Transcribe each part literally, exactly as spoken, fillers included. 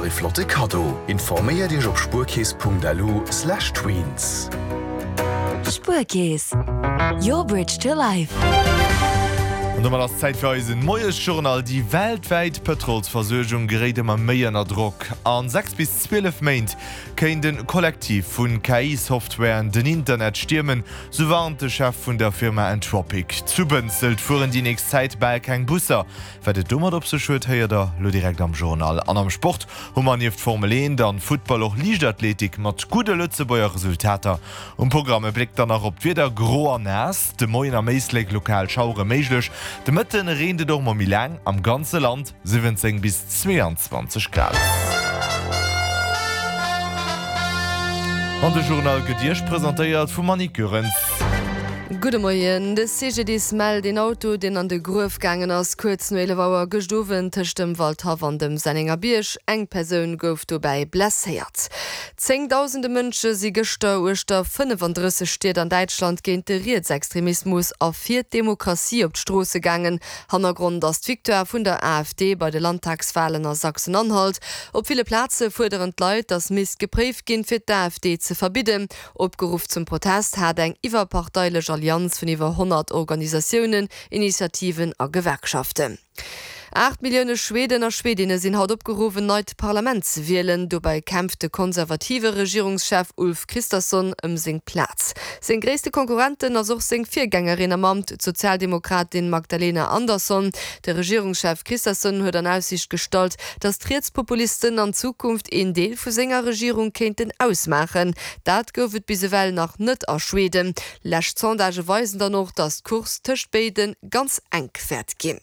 nach e flotte Kaddo. Informéiert Iech op spuerkeess Punkt L U slash tweens. Spuerkeess, your bridge to life. An domat ass Zäit fir eisen Moiesjournal. Déi weltwäit Pëtrolsversuergung geréit ëmmer méi ënner Drock. A sechs bis zwielef Méint kéint e Kollektiv vun K I-Softwaren den Internet stiermen, sou warnt de Chef vun der Firma Anthropic. Zu Bënzelt fueren déi nächst Zäit bal keng Busser. Wat et domat op sech huet, héiert der lo direkt am Journal. An am Sport hu mer nieft Formel eent an Futtball och Liichtathletik mat gudde Lëtzebuerger Resultater um Programm. E Bléck dann nach op d'Wieder, Gro an naass de Moien, am Éislek lokal Schauere méiglech. De Mëtte reent et och mol méi laang am ganze Land, siwwenzéng bis zweeanzwanzeg Grad. An de Journal gëtt Iech presentéiert vum Annick Goerens. Gudde Moien. De C G D I S mellt een Auto, deen an de Gruef gaangen ass, kuerz no eelef Auer gëscht Owend tëscht dem Waldhaff an dem Sennengerbierg. Eng Persoun gouf dobäi blesséiert. Zéngdausende Mënsche si gëschter uechter fënnefandrësseg Stied an Däitschland géint de Rietsextremismus a fir d'Demokratie op d'Stroosse gaangen. Hannergrond ass d'Victoire vun der A F D bei de Landtagswalen a Sachsen-Anhalt. Op ville Plaze fuerderen d'Leit, datt misst gepréift ginn, fir d'A F D ze verbidden. Opgeruff zum Protest hat eng iwwerparteilech Allianz vun iwwer honnert Organisatiounen, Initiativen a Gewerkschaften. Aacht Millioune Schweden a Schwedinne sinn haut opgeruff, en neit Parlament ze wielen. Dobäi kämpft de konservative Regierungschef Ulf Kristersson ëm seng Plaz. Seng gréisste Konkurrentin ass och seng Virgängerin am Amt, d'Sozialdemokratin Magdalena Andersson. De Regierungschef Kristersson huet an Aussiicht gestallt, datt d'Rietspopulisten an Zukunft een Deel vu senger Regierung kéinten ausmaachen. Dat gouf et bis ewell nach net a Schweden. Lescht Sondagë weisen dann och, datt d'Course tëscht béide ganz enk wäert ginn.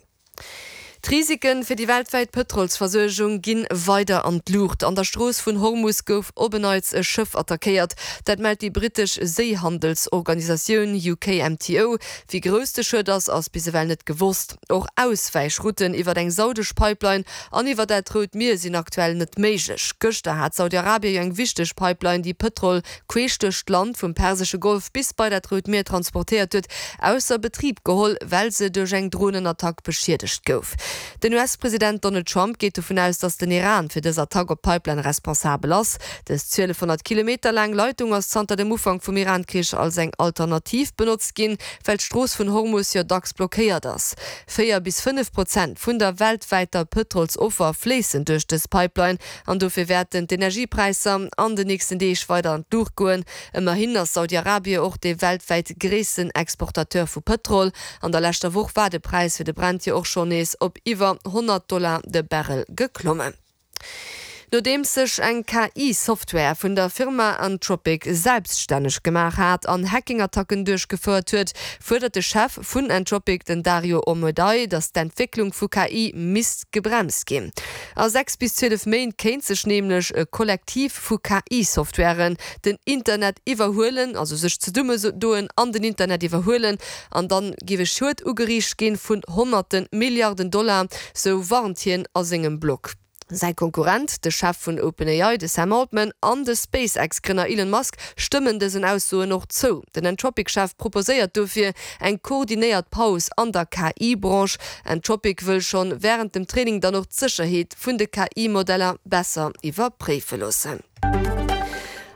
D'Risike fir déi weltwäit Pëtrolsversuergung ginn weider an d'Luucht. An der Strooss vun Hormus gouf op en Neits e Schëff attackéiert. Dat mellt déi brittesch Séihandelsorganisatioun U K M T O. Wéi grouss de Schued ass, ass bis ewell net gewosst. Och Auswäichrouten iwwer eng saudesch Pipeline an iwwer dat Rout Mier sinn aktuell net méiglech. Gëschter hat Saudi-Arabien jo eng wichteg Pipeline, déi Pëtrol queesch duerch d'Land vum Persesche Golf bis bei dat Rout Mier transportéiert huet, ausser Betrib geholl, well se duerch eng Dronenattack beschiedegt gouf. Den U S-President Donald Trump geet dovun aus, datt den Iran fir dës Attack op d'Pipeline responsabel ass. Dës zwielefhonnert Kilometer laang Leitung ass zanter dem Ufank vum Iran-Krich als eng Alternativ benotzt ginn, well d'Strooss vun Hormus jo dacks blockéiert ass. Véier bis fënnef Prozent vun der weltwäiter Pëtrolsoffer fléissen duerch dës Pipeline an dofir wäerten d'Energiepräisser an den nächsten Deeg weider an d'Luucht goen. Ëmmerhin ass Saudi-Arabien och de weltwäit gréissten Exportateur vu Pëtrol. An der leschter Woch war de Präis fir de Brent jo och schonn nees op iwwer honnert Dollar de Barrel geklommen. Nodeems sech eng K I-Software vun der Firma Anthropic selbststänneg gemaach hat an Hacking-Attacken duerchgefouert huet, fuerdert de Chef vun Anthropic, den Dario Amodei, datt d'Entwécklung vu K I misst gebremst ginn. A sechs bis zwielef Méint kéint sech nämlech e Kollektiv vu K I-Softwaren den Internet iwwerhuelen, also sech zesummedoen an den Internet iwwerhuelen, an dann géif e Schued ugeriicht ginn vun honnerte Milliarden Dollar, sou warnt hien a sengem Blog. Säi Konkurrent, de Chef vun OpenAI, de Sam Altman, an de SpaceX-Grënner Elon Musk stëmmen dësen Aussoen och zou. Den Anthropic-Chef proposéiert dofir eng koordinéiert Paus an der K I-Branche. Anthropic wëll schonn wärend dem Training dann och d'Sécherheet vun de K I-Modeller besser iwwerpréife loossen.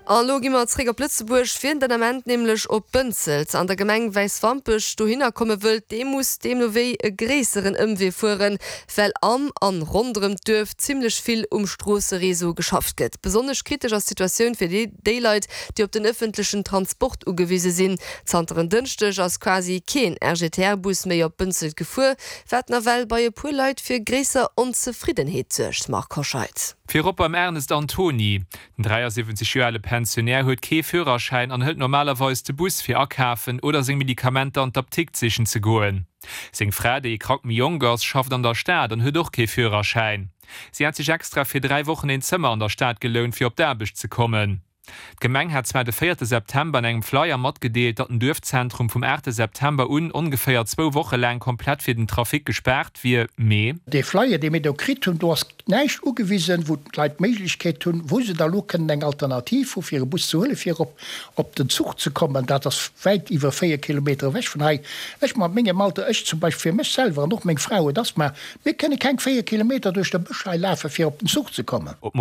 An elo gi mer zréck op Lëtzebuerg. Wien den Ament nämlech op Bënzelt an der Gemeng Wäiswampech dohinner komme wëllt, dee muss deemno wéi e gréisseren Ëmwee fueren, well am an ronderëm d'Duerf zimmlech vill um Stroossereseau geschafft gëtt. Besonnesch kritesch ass d'Situatioun fir déi Leit, déi op den ëffentlechen Transport ugewise sinn. Zanter en Dënschdeg ass quasi keen R G T R-Bus méi op Bënzelt gefuer, wat nawell bei e puer Leit fir gréisser Onzefriddenheet suergt. Marc Hoscheid. Virop beim Ernest Antoni. Den dräiasiwwenzeg Joer ale Pensionär huet kee Führerschäin an hëlt normalerweis de Bus fir akafen oder seng Medikamenter an d'Apdikt sichen ze goen. Seng Fra, déi e Krack méi jonk ass, schafft an der Stad an huet och kee Führerschäin. Si hat sech extra fir dräi Wochen een Zëmmer an der Stad gelount, fir op d'Aarbecht ze kommen. D'Gemeng hat zwar de véierte September an engem Flyer matgedeelt, datt den Duerfzentrum vum aachte September un ongeféier zwou Woche laang komplett fir den Trafic gespaart wier, mee. Dee Flyer, dee mir do kritt hunn, do ass näischt ugewisen, wou d'Leit d'Méiglechkeet hunn, wou se da lo kënnen eng Alternativ hu fir e Bus ze huelen, fir op op den Zuch ze kommen. Dat ass wäit iwwer véier Kilometer ewech vun hei. Ech mat mengem Alter, ech zum Beispill fir mech selwer an och meng Fra huet Asthma, mir kënne keng véier Kilometer duerch de Bësch hei lafen, fir op den Zuch ze kommen. Op